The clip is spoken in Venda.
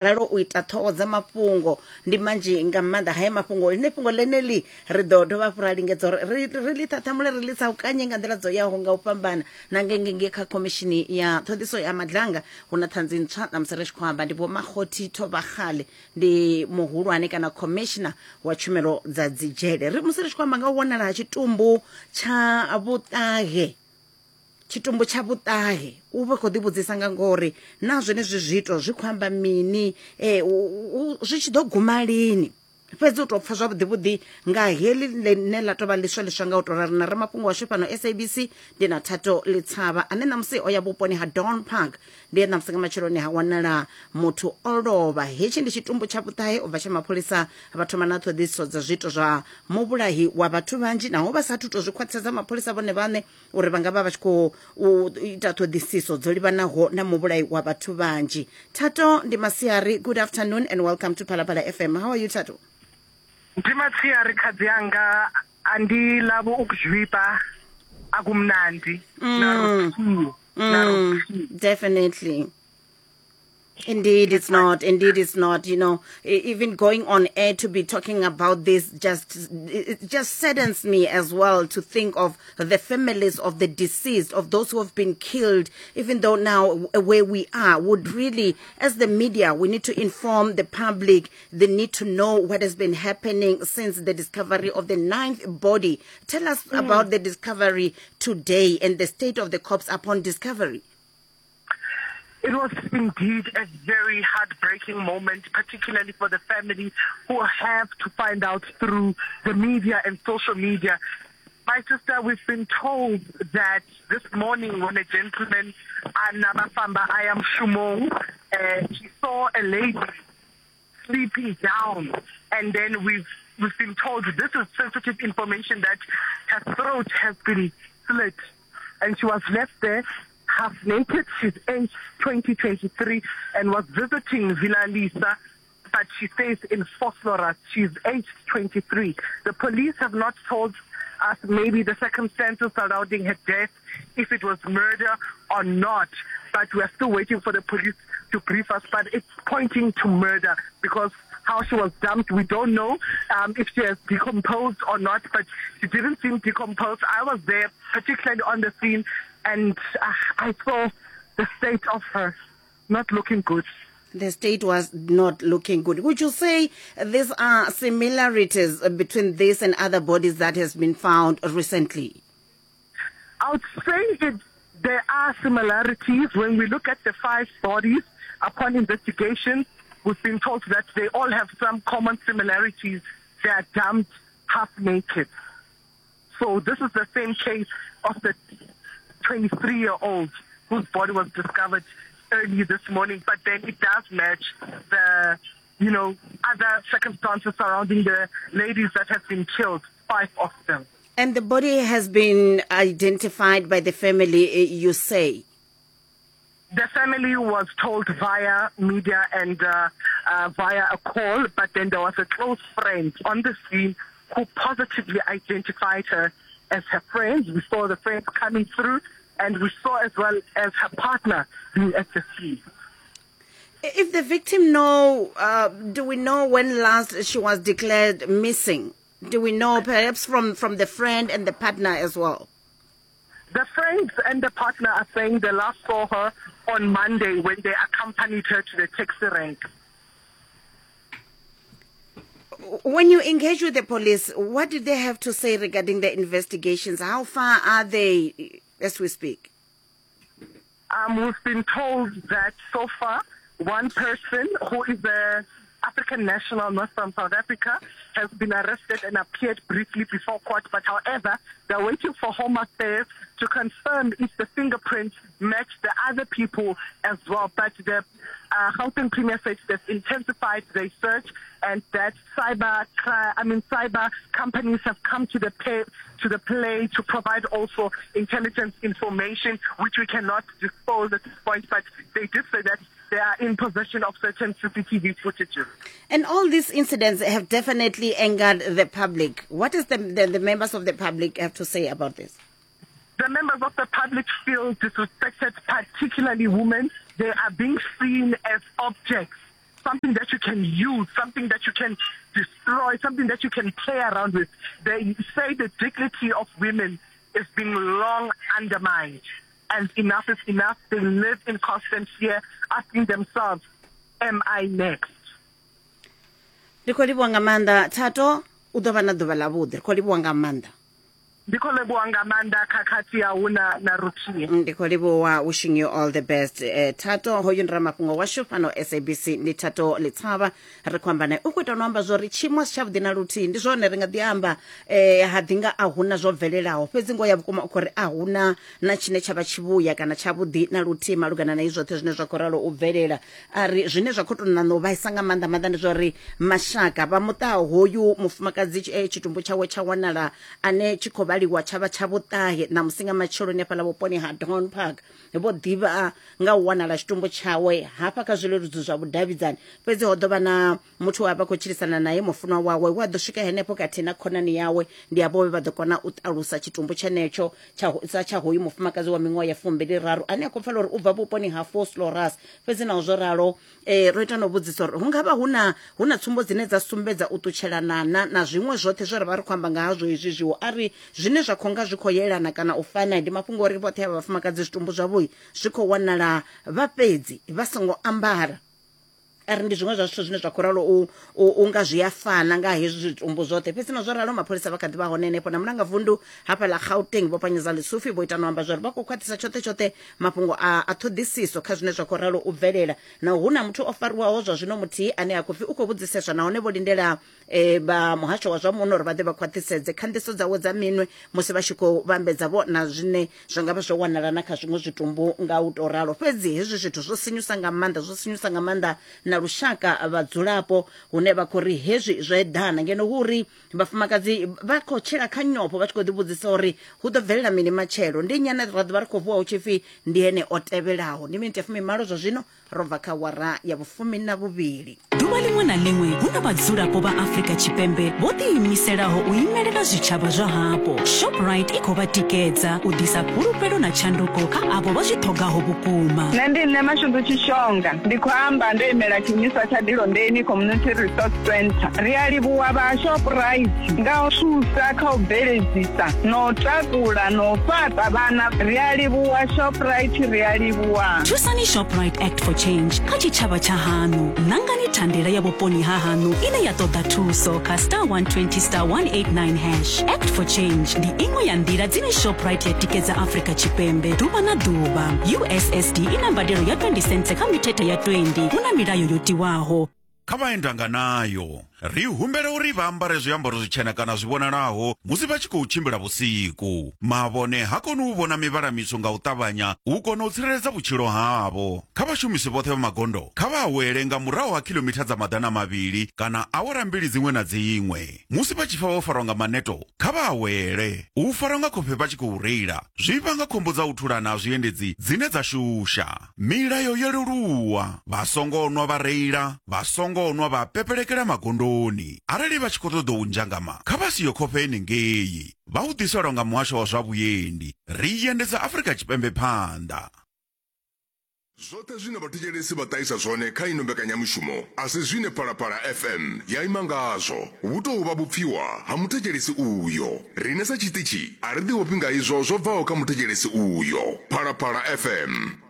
Ralo u ita ṱhoho dza mafhungo ndi manzhi nga maanḓa haya mafhungo. Ḽine fhungo ḽeneḽi ri ḓo dovha hafhu ra lingedza uri ri ri ḽi ṱhaṱhamule ri ḽi saukanye nga nḓila dzo yaho nga u fhambana. Na ngengenge kha khomishini ya ṱhoḓiso ya Madlanga hu na ṱhanzi ntswa ṋamusi ri tshi khou amba ndi Vho Makgothi Thobakgale, ndi muhulwane kana commissioner wa tshumelo dza dzidzhele. Ri musi ri tshi khou amba nga u wanala ha tshitumbu tsha vhuṱahe Tshitumbu tsha vhuṱahe u vhe khou ḓivhudzisa nga ngoho uri na zwenezwi zwiito zwi khou amba mini e, zwi tshi ḓo guma lini. Fhedzi u tou pfa zwavhuḓi vhuḓi nga heḽi ḽine ḽa tou vha ḽiswa ḽiswa nga u tou rali na ramafhungo washu fhano SABC ndi na Thato Litshavha ane ṋamusi o ya vhuponi ha Dawn Park. Ndi he ṋamusi nga matsheloni ha wanala muthu o lovha. Hetshi ndi tshitumbu tsha vhuṱahe u bva tshe mapholisa vha thoma na ṱhoḓisiso dza zwiito zwa muvhulahi wa vhathu vhanzhi naho vha sathu tou zwi khwaṱhisedza mapholisa vhone vhaṋe uri vha nga vha vha tshi khou ita ṱhoḓisiso dzo livhanaho na muvhulayi wa vhathu vhanzhi. Thato, ndi masiari. Good afternoon and welcome to Phalaphala FM. How are you, Thato? Ndi masiari khadzi anga, a ndi lavho ukuzwipa akumnandi na luthihi na luthihi. Definitely. Indeed, it's not. Indeed, it's not. You know, even going on air to be talking about this just it just saddens me as well to think of the families of the deceased, of those who have been killed. Even though now where we are, would really, as the media, we need to inform the public. They need to know what has been happening since the discovery of the ninth body. Tell us about the discovery today and the state of the corpse upon discovery. It was indeed a very heartbreaking moment, particularly for the family who have to find out through the media and social media. My sister, we've been told that this morning when a gentleman, Anabafamba Ayam Shumong, he saw a lady sleeping down, and then we've been told this is sensitive information that her throat has been slit and she was left there half naked. She's aged 20, 23 and was visiting Villa Lisa, but she stays in Vosloorus. She's aged 23. The police have not told us maybe the circumstances surrounding her death, if it was murder or not, but we are still waiting for the police to brief us. But it's pointing to murder because how she was dumped, we don't know if she has decomposed or not, but she didn't seem decomposed. I was there, particularly on the scene, and I saw the state of her not looking good. The state was not looking good. Would you say these are similarities between this and other bodies that has been found recently? I would say there are similarities. When we look at the 5 bodies, upon investigation, we've been told that they all have some common similarities. They are dumped half naked. So this is the same case of the 23-year-old whose body was discovered early this morning, but then it does match the, other circumstances surrounding the ladies that have been killed, 5 of them. And the body has been identified by the family, you say? The family was told via media and via a call, but then there was a close friend on the scene who positively identified her as her friend. We saw the friends coming through, and we saw as well as her partner being at the scene. If the victim know, do we know when last she was declared missing? Do we know perhaps from the friend and the partner as well? The friends and the partner are saying they last saw her on Monday when they accompanied her to the taxi rank. When you engage with the police, what did they have to say regarding the investigations? How far are they as we speak? We've been told that so far, one person who is a African national, not from South Africa, has been arrested and appeared briefly before court. But however, they're waiting for Home Affairs to confirm if the fingerprints match the other people as well. But the Gauteng Premier said they've intensified their search and that cyber companies have come to the pay, to the play to provide also intelligence information, which we cannot disclose at this point. But they did say that they are in possession of certain CCTV footages. And all these incidents have definitely angered the public. What is the members of the public have to say about this? The members of the public feel disrespected, particularly women. They are being seen as objects. something that you can use, something that you can destroy, something that you can play around with. They say the dignity of women is being long undermined. And enough is enough. They live in constant fear, asking themselves, am I next? Ndi khou livhuwa nga maanḓa Thato, u ḓo vha na ḓuvha ḽavhuḓi. Ri khou livhuwa nga maanḓa. Ndi khou livhuwa nga maanḓa khakhathi ya hu na na ruthihi. Ndi khou livhuwa, wishing you all the best. Eh, Thato hoyu ndi ramafhungo washu fhano SABC, ndi Thato Litshavha ri khou amba naye. U khou ita no amba zwori tshiimo a si tshavhuḓi na luthihi. Ndi zwone ri nga ḓi amba eh, ha ḓi nga a huna zwo bvelelaho, fhedzi ngoho ya vhukuma u khou ri a huna na tshine tsha vha tshivhuya kana tshavhuḓi na luthihi malugana na izwi zwoṱhe zwine zwa khou ralo u bvelela. A ri zwine zwa khou tou ṋaṋa u vhaisa nga maanḓa maanḓa ndi zwa uri mashaka vha muṱa hoyu mufumakadzi eh, tshitumbu tshawe tsha wanala ane tshi khou vhaliwa tsha vha tsha vhuṱahe ṋamusi nga matsheloni hafhaḽa vhuponi ha Dawn Park. Vho ḓivha nga u wanala tshitumbu tshawe hafha kha zwileludzi zwa vhudavhidzani, fhedzi ho ḓo vha na muthu we a vha khou tshilisana nae mufunwa wawe we a ḓo swika henefho khathihi na khonani yawe. Ndi avho vhe vha ḓo kona u ṱalusa tshitumbu tshenetsho tsha sa tsha hoyu mufumakadzi wa miṅwaha ya fumbili raru ane a khou pfala uri u bva vhuponi ha Vosloorus. Fhedzi naho zwo ralo eh, ro ita na u vhudzisa uri hu nga vha hu na hu na tsumbo dzine dza sumbedza u ṱutshelana na na zwiṅwe zwoṱhe zwe ra vha ri khou amba nga hazwo izwi zwiwo. A ri zwine zwa khou nga zwi khou yelana kana u fana ndi mafhungo uri vhoṱhe avha vhafumakadzi zwitumbu zwavho zwi khou wanala vha fhedzi vha songo ambara. A ri ndi zwiṅwe zwa zwithu zwine zwa khou ralo u, u, u nga zwi a fana nga hezwi zwitumbu zwoṱhe. Fhedzi na zwo ralo mapholisa vha kha ḓi vha hone henefho na mulangavundu hafha ḽa Gauteng Vho Panyaza Lesufi vho ita no amba zwa uri vha khou khwaṱhisa tshoṱhe tshoṱhe mafhungo a, a ṱhoḓisiso kha zwine zwa khou ralo u bvelela. Na hu na muthu o fariwaho zwa zwino muthihi ane a khou pfi u khou vhudziseswa nahone vho lindela e, vha muhasho wa zwa muno uri vha ḓe vha khwaṱhisedze khanḓiso dzawe dza minwe musi vha tshi khou vhambedza vho na zwine zwa nga vha zwo wanala na kha zwiṅwe zwitumbu nga u tou ralo. Fhedzi hezwi zwithu zwo sinyusa nga maanḓa, zwo sinyusa nga maanḓa na lushaka vhadzulapo hune vha khou ri hezwi zwo eḓana ngeno hu uri vhafumakadzi vha khou tshila kha nyofho vha tshi khou ḓivhudzisa uri hu ḓo bvelela mini matshelo. Ndi nnyi ane ra ḓo vha ri khou vuwa hu tshi pfi ndi ene o tevhelaho. Ndi miniti ya fumimalo zwa zwino Ro bva kha awara ya vhufumi na vhuvhili. Ḓuvha ḽiṅwe na ḽiṅwe hu na vhadzulapo vha Afrika Tshipembe vho ḓiimiselaho u imelela zwitshavha zwa hapo. Shoprite i khou vha tikedza u ḓisa fhulufhelo na tshanduko kha avho vha zwi ṱhogaho vhukuma. Nṋe ndi nṋe Mashudu Tshishonga, ndi khou amba ndo imela tshiimiswa tsha Dilondeni Community Resource Centre. Ri a livhuwa vha Shoprite nga u thusa kha u bveledzisa na u takula na u fhaṱa vhana. Ri a livhuwa Shoprite, ri a livhuwa. Thusani Shoprite Act for Change kha tshitshavha tsha haṋu. Nangani thandela ya vhuponi ha haṋu ine ya ṱoḓa thuso kha star 120 star 189 hash. Act for Change ndi iṅwe ya nḓila dzine Shoprite ya tikedza Afrika Tshipembe ḓuvha na ḓuvha. USSD i na mbadelo ya 20 sentse kha mithethe ya 20 hu na milayo yo tiwaho. Kha vhaendanganayo, ri humbela uri vha ambare zwiambaro zwitshena kana zwi vhonalaho musi vha tshi khou tshimbila vhusiku. Mavhone ha koni u vhona mivhala mitswu nga u ṱavhanya u kona u tsireledza vhutshilo havho. Kha vhashumisi vhoṱhe vha magondo, kha vha awele nga murahu ha khilomitha dza 200 kana awara mbili dziṅwe na dziṅwe. Musi vha tshi pfa vho farwa nga maneto, kha vha awele. U farwa nga khofhe vha tshi khou reila zwi vhanga khombo dza u thulana ha zwiendedzi dzine dza shusha. Milayo yo leluwa, vha songo nwa vha reila, vha songo nwa vha pepelekela magondoni. Arali vha tshi khou ṱoḓa u nzhangama, kha vha siyo khofhe henengei. Vha hu ḓiselwa nga Muhasho wa zwa Vhuendi. Ri endedza Afrika Tshipembe phanḓa. Zwoṱhe zwine vhathetshelesi vha ṱahisa zwone kha ino mbekanyamushumo a si zwine Phalaphala FM ya ima ngazwo. Vhu tou vha vhupfiwa ha muthetshelesi uyo. Riṋe sa tshiṱitshi a ri ḓiofhi nga izwo zwo bvaho kha muthetshelesi uyo. Phalaphala FM.